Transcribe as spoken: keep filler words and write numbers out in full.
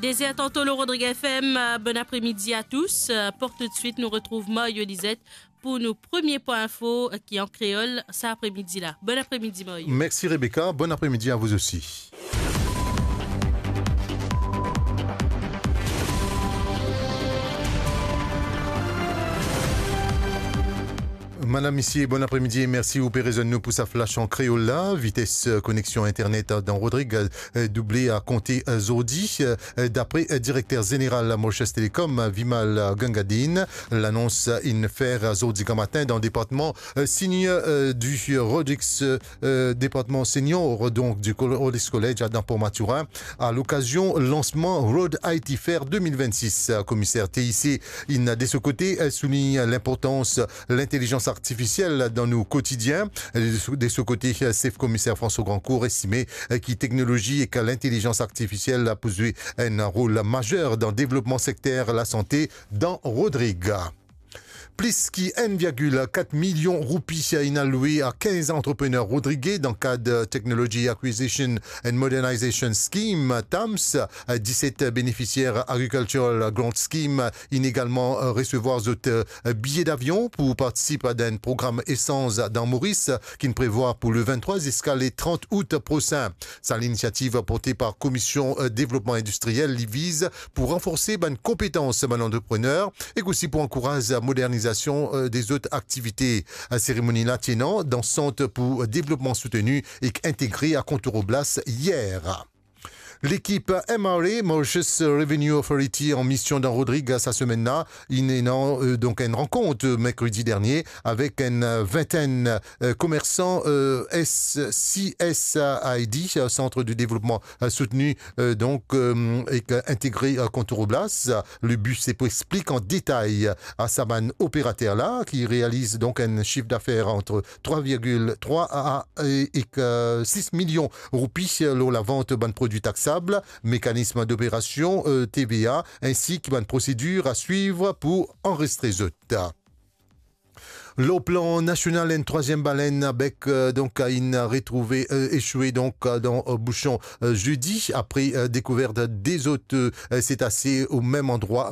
Plaisir tantôt le Rodrigue F M. Euh, bon après-midi à tous. Euh, pour tout de suite, nous retrouvons Mario Lisette pour nos premiers points info, euh, qui en créole, cet après-midi-là. Bon après-midi, Mario. Merci Rebecca. Bon après-midi à vous aussi. Madam, misie, bon apremidi e mersi ou pe rezwenn nou pou sa flash an kreol la. Vites, euh, koneksion internet, euh, dan Rodrig, euh, double a konte, euh, zordi. Euh, dapre, euh, direkter zeneral Mauritius Telecom, euh, Vimal, euh, Gangadine, lanons, euh, inn fer, euh, zordi gramatin dan departman, euh, senior, euh, du Rodrigues, euh, euh, departman senior, donk, du Col-, Rodrigues College, euh, dan Port Mathurin, a lokazion lansman Road I T Fair de mil vennsis. Euh, komiser T I C inn, de so kote, euh, soulign linportans lintelizans artifisiel dan nou kotidien. De so, de so kote, euh, sef komiser François Grandcourt estime, euh, ki teknolozi ek lintelizans artifisiel pou zwe enn rol mazer dan devlopman sekter lasante dan Rodrig. Plis ki enn virgil kat milion roupi inn al lwe a kinz antreprener rodrige dan kad Technology Acquisition and Modernization Scheme, TAMS. Diset benefisier Agricultural Grant Scheme inn egalman, euh, resevwar zot, euh, biye davion pou partisip a enn program esanz dan Moris, ki'nn prevwar pou le venntrwa ziska le trant out prosin. Sa linisiativ porte par Komisyon, euh, Devlopman Indistriyel, li viz pou ranforse bann konpetans bann antreprener ek osi pou ankouraz modernizasion, euh, de zot aktivite. Seremoni la ti ena dan Sant pou Devlopman Souteni ek Integre a Contour Oblas yer. Lekip M R A, Mauritius Revenue Authority, an mision dan Rodrig sa semenn la. Inn ena, euh, donk enn rankont, euh, merkredi dernie avek enn, euh, vintenn, euh, komersan, euh, S C S I D, euh, Centre de Développement, euh, Soutenu, euh, donk, euh, ek, euh, Integre, euh, Contour Oblas. Le bi se pou explik an detay a sa bann operater la ki realiz donk enn sif dafer ant trwa virgil trwa a, a, e, ek, euh, sis milion roupi lor lavant bann prodwi taksab, mekanism d'operasion, euh, T V A, ensi ki bann prosedir a swiv pou anrezistre zot. Lor plan nasional, enn trwaziem balenn a bek, euh, donk, inn retrouve, euh, eswe, donk, euh, dan, euh, bouson, euh, zedi, apre, euh, dekouvert de zot, euh, setase o mem andrwa,